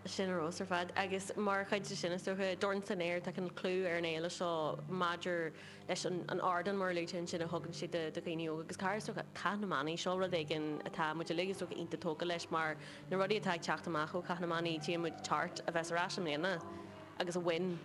Sin ar fheabhas ar fad. Agus mar chuid de sin, is dócha, Dorn san Aer, tá cineál clú ar an fhéile seo maidir leis an ardán, mar a luaigh tú ansin, a thugann sé do dhaoine óga. Agus cara, is dócha, Cath na mBannaí, seo rud éigin atá muid uilig, is dócha, iontach tógtha leis mar na rudaí atá ag teacht amach ó Chath na mBannaí, tchíonn muid Tart a bheas ar ais i mbliana agus a bhain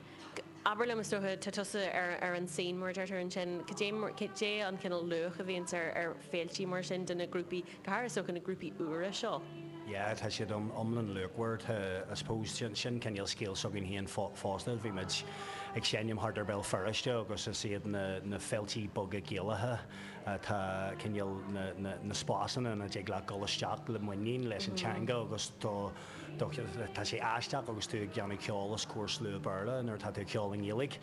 Abair liom, is dócha, tá tusa ar ar an scene, mar a deirtear ansin, cad é mar, cad é an cineál luach a bhíonns ar ar féiltí mar sin do na grúpaí, go háirithe is dócha na grúpaí úra seo? Yeah, tá siad iomlán luachmhar. Tá, I suppose, sin sin cineál scéal s'againn féin fosta. Bhí muid ag seinm thart ar Béal Feirste agus is iad na na féiltí beaga Gaelacha atá cineál na na na spásanna ina dtig leat dul isteach le muinín leis an teanga agus do Tá sé aisteach agus tú ag déanamh ceol os comhair slua Béarla nuair atá tú ag ceol i nGaeilge.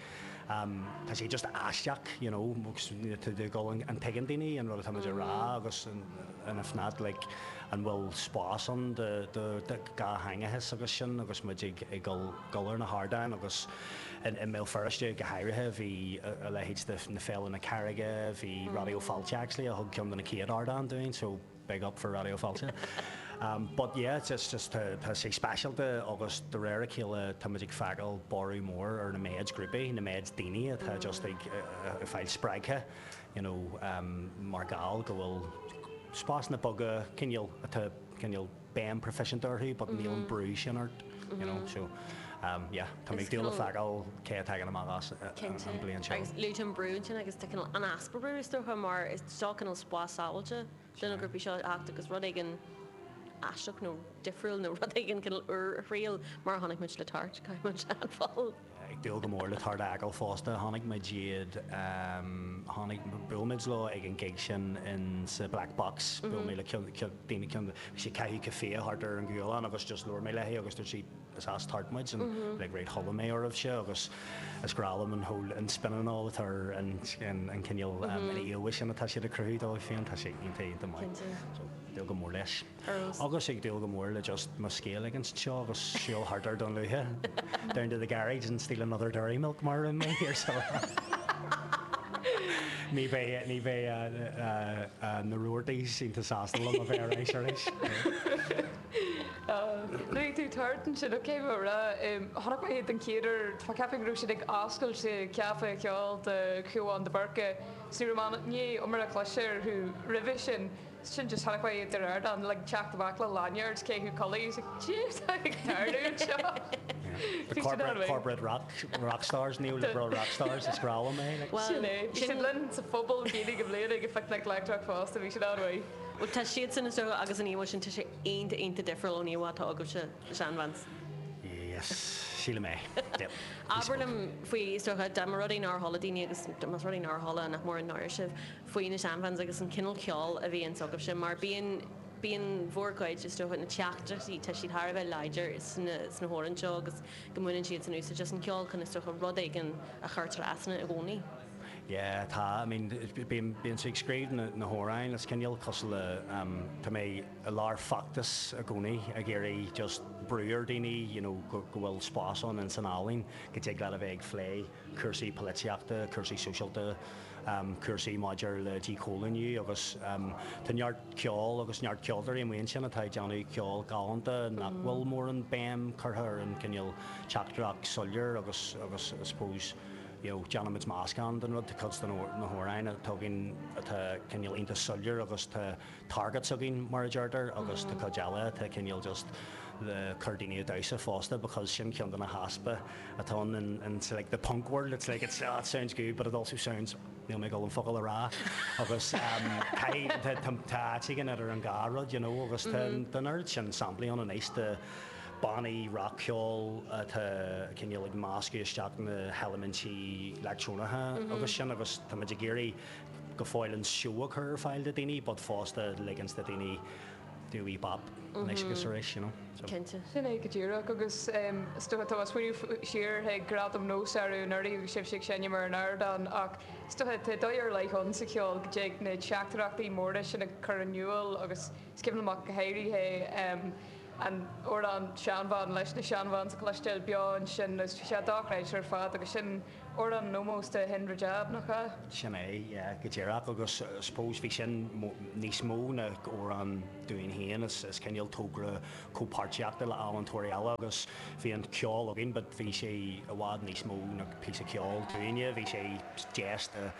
Tá sé just aisteach, you know, agus tá tú ag dul, an dtuigeann daoine an rud atá muid a rá agus and if not, like, an bhfuil spás ann do dhátheangachas agus sin agus muid ag dul dul ar na hardáin agus i mBéal Feirste go háirithe bhí a leithéid de na Féile na Carraige, bhí Raidió Fáilte actually a thug ceann de na chéad ardáin dúinn so big up for Raidió Fáilte. But yeah, it's just, just tá, tá sé speisialta agus de réir a chéile tá muid ag feiceáil borradh mór ar na méid grúpaí, na méid daoine atá just ag, ag fáil spreagtha, you know, mar gheall go bhfuil spásanna beaga cineál atá cineál béim proifisiúnta orthu but níl an brú sin ort, you know, so yeah, tá mé ag dúil le feiceáil cé a thagann amach as an bliain seo. Agus luaigh tú an brú ansin agus tá cineál an easpa brú is dócha mar is seo cineál spás sábháilte do na grúpaí seo a theacht agus rud éigin aisteach nó difriúil nó rud éigin cineál úr a thriail mar a chonaic muid le Tart, caithfidh muid a admháil. Ag dúil go mór le Tart a fheiceáil fosta. Chonaic muid iad, chonaic, bhuail muid leo ag an gig sin in sa Black Box, bhuail mé le ceann, daoine, ceann, bhí sí ag caitheamh caife thart ar an gCualann agus just labhair mé léi agus dúirt sí, is as Tart muid and like right chuala mé oraibhse agus is grá liom an whole an spin and all atá ar an an cineál an íomhá sin atá siad ag cruthú dóibh féin, tá sé iontach iontach maith. So ag dúil go mór leis. Agus ag dúil go mór le just mo scéal ag an seo agus siúl thart ar Dún Lúiche down to the garage and steal another Dairy Milk mar a rinne mé here so ní bheidh ní bheidh na Roartys iontach sásta liom a bheith ar ais arís. Luaigh tú Tart ansin, ok, mé a rá, chonaic mé iad den chéad uair, tá mé ag ceapadh go raibh siad ag oscailt sa Chaife Cheoil do Shiobhán de Búrca, so ní raibh mé i ndiaidh iomarca cloiste orthu roimhe sin, sin just chonaic mé iad ar ardán like teacht amach le lanyards caitheamh culaith, I was like, jeez, tá ag tarlú anseo. The corporate, corporate rock, rock stars, neoliberal rock stars, is grá liom é. Like. Sin é, bhí siad linn sa phuball Gaeilge i mbliana ag an Phicnic Leictreach fosta, bhí siad an-mhaith. Bhuel tá siadsan is dócha agus an íomhá sin tá sé iontach iontach difriúil ón íomhá atá agaibhse, na Shan Vans. Yes, sílim é. Yep. Abair liom faoi, is dócha, dá mba rud é nár chuala daoine agus más rud é nár chuala, nach mór an náire sibh, faoi na Shan Vans agus an cineál ceoil a bhíonns agaibhse mar bíonn, bíonn bhur gcuid, is dócha, na teachtaireachtaí, tá siad thar a bheith láidir sna, sna hamhráin seo agus go mbaineann siadsan úsáid as an cheol chun, is dócha, rud éigin a chur trasna i gcónaí. Yeah, tá, I mean, bím, bíonn sé ag scríobh na, na hamhráin, is cineál cosúil le, tá mé i lár feachtas i gcónaí ag iarraidh just brú ar daoine, you know, go, go bhfuil spás ann ins an ealaín, go dtig leat a bheith ag phlé cúrsaí polaitíochta, cúrsaí sóisialta, cúrsaí maidir le díchoilíniú agus tá neart ceol agus neart ceoltóirí amuigh ansin atá ag déanamh ceol galánta nach bhfuil mórán béim curtha ar an cineál teachtaireacht soiléir agus, agus I suppose, you know, déanaimid meascán den rud, tá cuid de na hamhráin atá againn atá cineál iontach soiléir agus tá targets againn mar a deirtear agus tá cuid eile atá cineál just le cur daoine ag damhsa fosta because sin ceann de na heaspa atá ann in, in like the punk world, it's like it's, oh, it sounds good but it also sounds, níl mé ag dul an focal a rá agus um, caithfidh, tá, tá áit éigin idir an dhá rud, you know, agus tá tá an oiread sin samplaí ann anois de bannaí rac-cheoil atá cineál ag meascadh isteach na heilimintí leictreonacha agus sin agus tá muid ag iarraidh go fóill an seó a chur ar fáil do daoine but fosta ligint do daoine do wee bop anois agus arís, you know. So. Cinnte. Sin é go díreach agus is dócha tá mé ag smaoineamh siar chuig Gradaim Nós arú anuraidh agus sibhse ag seinm ar an ardán ach is dócha tá dóigh ar leith ann sa cheol go dtig na teachtaireachtaí móra sin a chur in iúl agus is cuimhin liom ach go háirithe an amhrán Seanbhean leis na Shan Vans a chloisteáil beo ansin agus bhí sé dochreidte ar fad agus sin. amhrán in ómós do Hind Rajab, nach ea? Sin é, yeah, go díreach. Agus I suppose bhí sin níos mó ná amhrán dúinn féin, is cineál togra comhpháirtíochta le ealaíontóirí eile agus bhí an ceol againn but bhí sé i bhfad níos mó ná píosa ceoil dúinne, bhí sé deis de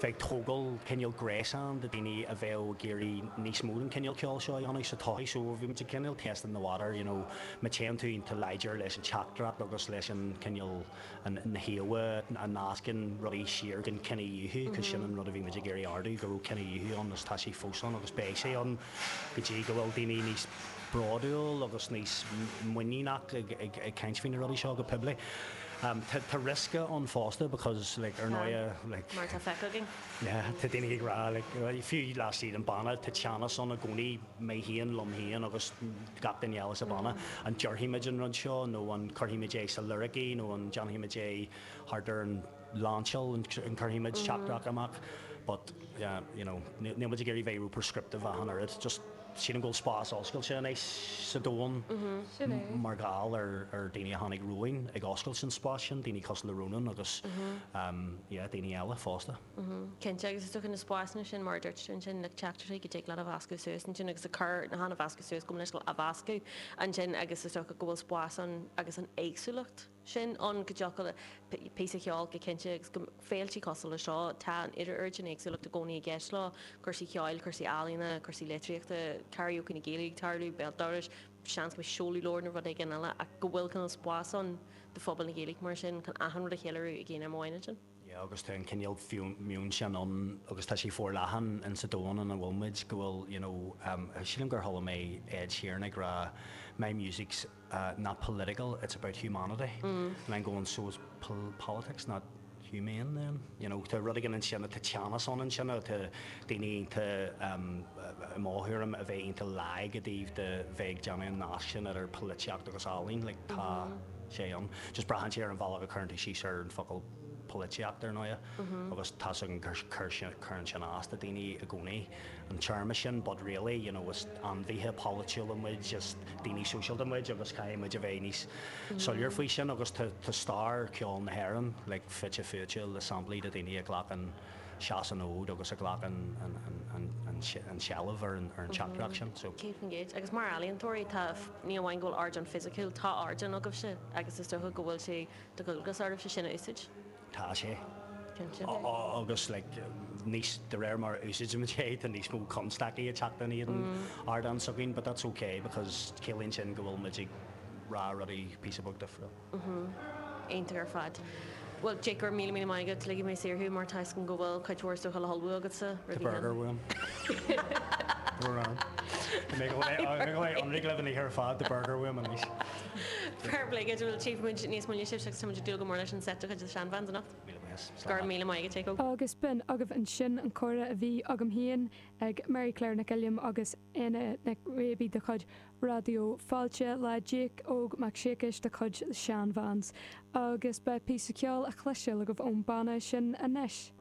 bheith ag tógáil cineál gréasán de daoine a bheadh ag iarraidh níos mó den cineál ceoil seo a dhéanamh sa todhchaí so bhí muid ag cineál testing the water you know má téann tú iontach láidir leis an teachtaireacht agus leis an cineál na híomhá a nascann rudaí siar den cinedhíothú, cos sin an rud a bhí muid ag iarraidh ardú, go raibh cinedhíothú ann is tá sé fós ann agus beidh sé ann go dtí go bhfuil daoine níos bródúil agus níos muiníneach ag caint faoi na rudaí seo go poiblí. Tá riosca ann fosta because like ar ndóighe like. Mar atá feicthe againn. Yeah, tá daoine ag rá like fiú laistigh den banna tá teannas ann i gcónaí, mé féin liom féin agus gach duine eile sa bhanna, an déarfaidh muid an rud seo nó an cuirfidh muid é sa liricí nó an déanfaidh muid é thart ar an lainseáil, an cuirfidh muid teachtaireacht amach but yeah you know níl muid ag iarraidh bheith ró-prescriptive ach an oiread, just sílim go bhfuil spás oscailte anois sa domhan mar gheall ar ar daoine a tháinig romhainn ag oscailt an spás sin, daoine cosúil le Rónán agus yeah daoine eile fosta. Cinnte, agus is dócha na spásanna sin, mar a dúirt tú ansin, like teachtaireachtaí go dtig leat a mheascadh suas ansin agus a cur, chan a mheascadh suas, gabh mo leithscéal, a mheascadh ansin agus is dócha go bhfuil spás ann agus an éagsúlacht sin ann go dtiocfadh le píosa ceoil go cinnte agus go féiltí cosúil le seo, tá an oiread sin éagsúlacht i gcónaí i gceist leo, cúrsaí ceoil, cúrsaí ealaíona, cúrsaí litríochta, karaoke na Gaeilge ag tarlú, béal dorais, seans go mbeidh seoladh leabhar nó rud éigin eile ach go bhfuil cineál spás ann do phobal na Gaeilge mar sin chun achan rud a cheiliúradh ag aon am amháin ansin. Yeah agus tá an cineál meon sin ann agus tá sé forleathan in sa domhan ina bhfuil muid go bhfuil you know sílim gur chuala mé Ed Sheeran ag rá my music's not political it's about humanity and I'm going so is politics not humane then? You know tá rud éigin ansin tá teannas ann ansin tá daoine iontach i mo thuairim a bheith iontach lag i dtaobh de bheith ag déanamh an nasc sin idir polaitíocht agus ealaín like tá sé ann just braitheann sé ar an bhealach a cuireann tú síos ar an focal polaitíocht ar ndóighe agus tá's againn gur cuireann sin as do daoine i gcónaí an téarma sin but really you know is ainmhithe polaitiúla muid is daoine sóisialta muid agus caithfidh muid a bheith níos soiléir faoi sin agus tá tá stair ceoil na hÉireann like fite fuaite le samplaí de daoine a ghlac an seas an fhód agus a ghlac an an an an an seilbh ar an ar an teachtaireacht sin so. 100%. Agus mar ealaíontóirí tá ní amháin go bhfuil ardán fisiciúil tá ardán agaibhse agus is dócha go bhfuil sé de dhualgas oraibhse sin a úsáid. Tá sé. Cinnte. Agus like níos, de réir mar a úsáidimid é, tá níos mó constaicí ag teacht in éadan ardán s'againn, but that's okay because ciallaíonn sin go bhfuil muid ag rá rudaí píosa beag difriúil. Iontach ar fad. Bhuel, Jake, go raibh míle míle maith agat. Ligfidh mé saor thú mar tá 'fhios agam go bhfuil cuid mhór is dócha le hullmhú agatsa Tá burger uaim. Brón orm. Tá mé ag dul a bheith ionraic libh an oíche ar fad, tá burger uaim anois. Fair play duit, bhuel tchífidh muid níos moille sibh agus tá muid ag dúil go mór leis an set de chuid The Shan Vans anocht. Míle buíochas. Go raibh míle maith agat, Jake Óg. Agus b'in agaibh ansin an comhrá a bhí agam féin ag Mary Claire Nic Uilliam agus Éanna Nic Réibí de chuid Raidió Fáilte le Jake Óg Mac Siacais de chuid The Shan Vans. Agus beidh píosa ceoil á chloisteáil agaibh ón banna sin anois.